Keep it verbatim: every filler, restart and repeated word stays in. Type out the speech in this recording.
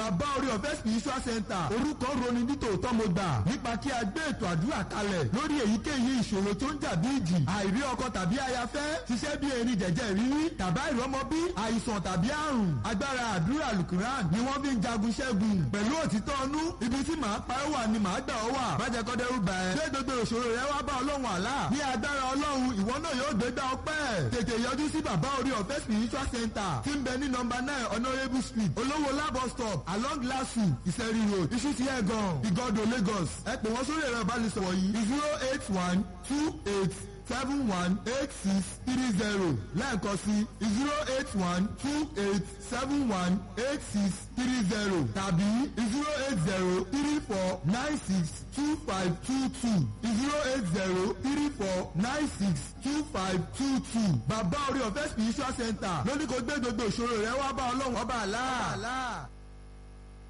Bàbá Orí Ọ̀fẹ́ Spiritual Center, orúkọ roni nítòótọ́ mo gbà nípa kí a gbé ètò àdúrà kalẹ̀ lórí èyíkéyìí ìṣòro tó ń jà bí ìjì, àìrí ọkọ tàbí ayafẹ́, ṣiṣẹ́ bí erin jẹ̀jẹ̀ rírí, tàbá ìrọ́mọbí, àìsàn tàbí àrùn. Agbára àdúrà Lukuran ni wọ́n fi ń jagun ṣẹ́gun. Pẹ̀lú òtítọ́ ọnú, ibi tí màá pa ẹ́ wà ni màá gbà ọ́ wà. Má jẹ́ kó dẹ́rù bà ẹ́. Gbé gbogbo ìṣòro rẹ wá bá Ọlọ́run àlá. Ní agbára Ọlọ́run, ìwọ náà yóò gbégbá ọpẹ́. Tètè yọjú sí Bàbá Orí Ọ̀fẹ́ Spiritual Center tí ń bẹ ní nọ́mbà nine Honourable Street, Olówó Labo Stop, along Lasu, Ìsẹ̀rí Road, Ìṣútì Ẹ̀gàn, Ìgọ́dọ̀, Lagos. Ẹ pè wọ́n sórí ẹ̀rọ ìbánisọ̀rọ̀ yìí: zero eight one two eight seven one eight six three zero. Lẹ́ẹ̀kan sí: zero eight one two eight seven one eight six three zero tàbí zero eight zero three four nine six two five two two, zero eight zero three four nine six two five two two. Bàbá Orí Ọ̀fẹ́ Spiritual Center lóní kò gbé gbogbo ìṣòro rẹ wá bá Ọlọ́run ọba àlá.